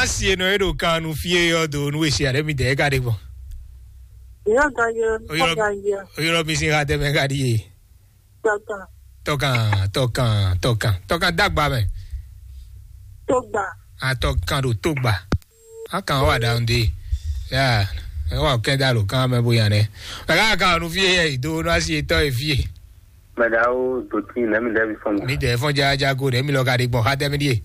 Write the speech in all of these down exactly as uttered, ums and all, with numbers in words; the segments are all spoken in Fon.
Asi e nɔ e ɖo kan nu fí e ɔ́ do nú e si aɖe mi dɛ e ka ɖe gbɔn. Yɔ gan yɔ, Oyɔlɔ- gan yɔ. Oyɔlɔ mi sin ha tɛ mɛ ka ɖi e. Tɔkan. Tɔkan, tɔkan, tɔkan, tɔkan dagba mɛ. Togba. A tɔkan ɖo togba. A kan wa ɖa ŋde. Ya, e wa kɛn da lo kan mɛ bo yan nɛ. Mɛ ka kan nu fí e yɛ do nú asi e tɔ e fí e. Mɛɖawo dotí nɛmi lɛbi fɔn. Mi dɛ fɔn jaja go ɖe mi lɔ ka ɖi gbɔn ha tɛ mi ɖi e.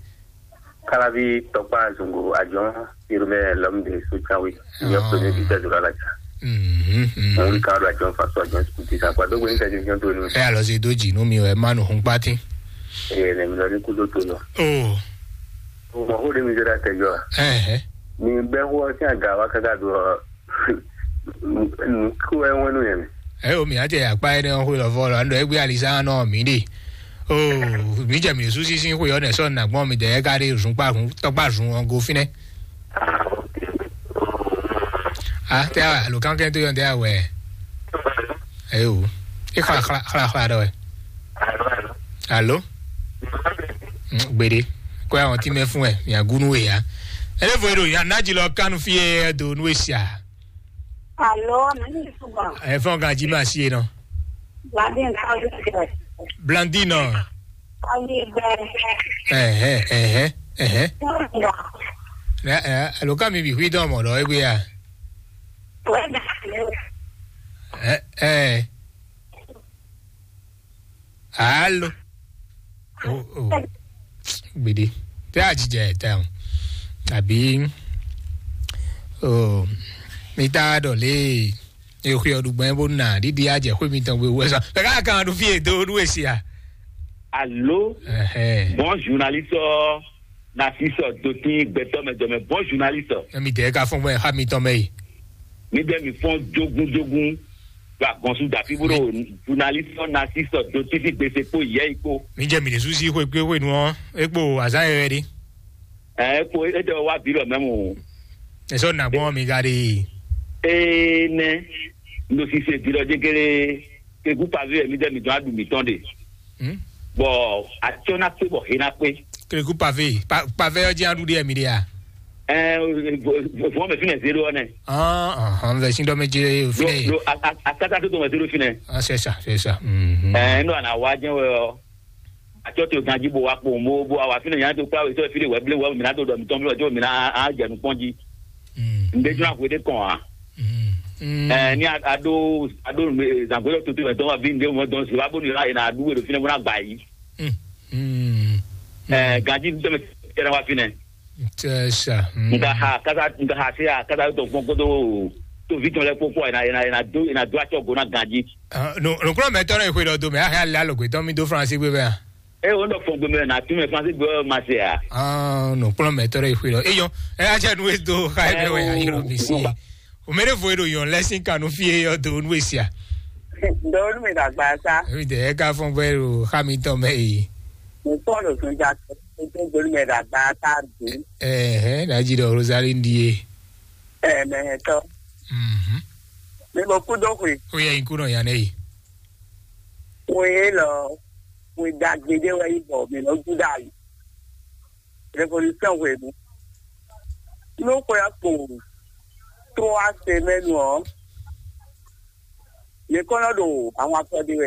Kalavi tɔkpa zungo ajɔn irumɛ lɔm de so cawe. Nyɔ pɛmɛ bi tɛ zora la ca. Mhm, mhm. Mo ri ka do ajɔn fa so ajɔn sikuti sa kwa do go intervention to ni. E alɔ se do dzi nú mi wɛ ma nu hun kpati. Eye nɛmi lɔ ni kudo to lɔ. Oh. O mɔ ko de mi zora tɛ jɔ. Eh eh. Mi bɛ ko si aga wa kaka do. Nukú wɛ wɛn nú yɛn. Ɛ o mǐ ná jɛ akpá énɛ́ ɔ́ xwé lɔ vɔ lɔ, anu ɖɔ égbé alisá nɔ mǐ ɖe. O mǐ jɛ mǐ sú sísí xwé ɔ́ nɛ sɔ́ nǎ gbɔn mǐ dɛ ká ɖe zun kpá zun tɔkpá zun ɔ́ go fínɛ́. A tɛ alo kankɛn tó yɔn tɛ awɛ. Ɛ o. E xla xla xla xla ɖɔ wɛ. Alo. Gbede. Kɔ ya wɔn ti mɛ fún ɛ, mǐ agúnú we ya. Ele vo eɖo ya ná dzi lɔ kanu fie do nú esia. Alo, mimi sugbɔn. Ɛ fɔn ganji ma si e nɔ. Bladin ka ɔdi kɛ. Blandino. Ɔdi bɛ. Ɛhɛ, ɛhɛ, ɛhɛ. Sugbɔn. Ɛ ɛ alo ka mi bi hui dɔn mɔ lɔ egbe ya. Wɛ na. Ɛ ɛ. Alo. Oh, oh. Gbede. Tɛ a jijɛ tɛ o. Àbí, oh, mi ta ɖɔ lé e xwe ɔ́ ɖu gbɛn bó na ɖiɖi a jɛ xwe mi tɔn gbé wɛ sɔ. Kaka kan ɖu fie do ɖu esi a. Alo. Ɛhɛ. Bon journaliste ɔ na si sɔ dotin gbɛtɔ mɛ dɔmɛ bon journaliste. Emi dɛ ka fɔn gbɛ xa mi tɔn mɛ yi. Mi dɛ mi fɔn jogun jogun. Gba gɔnsu dafi bó ɖo journaliste ɔ na si sɔ dotin fi gbèsè kpó yɛ yi kpó. Mi jɛ mi ɖe susi xwe kpé xwe nu ɔ, e kpo azan yɛ wɛ ɖi. Ɛ kpo e ɖe wa bi lɔ mɛ mu. Esɔ na gbɔn mi ka ɖi. Ee nɛ ndo sise bi lɔ jegere kegu pavé mi dɛ mi dɔn aɖu mi tɔn de. Hmm? Bɔ atsɔ na kpé bɔ he na kpé. Keleku pavé, pa- pavé ɔ́ jí aɖu ɖe mi ɖe a. Ɛ vɔ mɛ fínɛ zéro ɔnɛ. Ɔn ɔn vɛ sín dɔ mɛ jẹ fínɛ yìí. Lo akata tó tó mɛ zéro fínɛ. Ah, c'est ça, c'est ça. Mhm. Ɛ nɔ àná wá jẹ́ wɛ ɔ. Atsɔ tó ganji bò wá kpó mo bó wá fínɛ yàn tó kpá wé sọ fínɛ wɛ blé wɛ mìíràn tó dɔ mìtɔn blé wɛ tó mìíràn á jẹ nukpɔn jí. Mm. Ǹdé jọ àgbo dé kàn á. Mm. Mm. Ɛ ní a- ado ado zàgbélé tó tó mɛ dɔn wá bí ǹdé mɔ dɔn sí wá bó ní ra yìí nà adúgbò dó fínɛ bó ná gbà yìí. Mm. Mm. Ɛ ganji tó mɛ tẹ̀lé wá fínɛ. C'est ça. Mm. Nga ha kasa nga ha se ha kasa tó fún kótó tó vi tɔn lɛ kpókpó ɛ na ɛ na ɛ na dó ɛ na dó atsɔ go ná ganji. Ah, no, no kúrò mɛ tɔrɔ ìwé lọ do mɛ a hɛ alẹ́ alògbé tán mi dó France gbé bẹ́ẹ̀. Ɛ o nɔ fɔn gbé mɛ na tún mɛ France gbé ma se a. Ah, no kúrò mɛ tɔrɔ ìwé lọ. Eyɔn, ɛ a jẹ́ nu e do xa ẹ bẹ́ẹ̀ wẹ̀ ayé lọ mi sí. O mɛ ne vo e do yɔn lẹ́sìn kanu fi e yɔ do nu e sia. Dɔwɔnu mi dàgbà sa. Ebi tɛ ɛ ká fɔn bẹ́ẹ̀ o xa mi tɔn bẹ́ẹ̀ yìí. Mo pọ́ọ̀lù tún já tó gbóni mi dàgbà sa dé. Ɛhɛn, nàjí dɔ Rosalie ń di e. Ɛ mɛ hɛn tɔ. Mhm. Mi mo kú dó hwe. Ó yẹ ikú náà yà nẹ́yìí. Wòye lɔ, wòye dàgbé dé wɛ yí bɔ mi lɔ Júdà yìí. Révolution hwenu. Ló xwe akpo trois semaines ɔ. Mi kɔnɔ ɖo àwọn afɔɖi wɛ.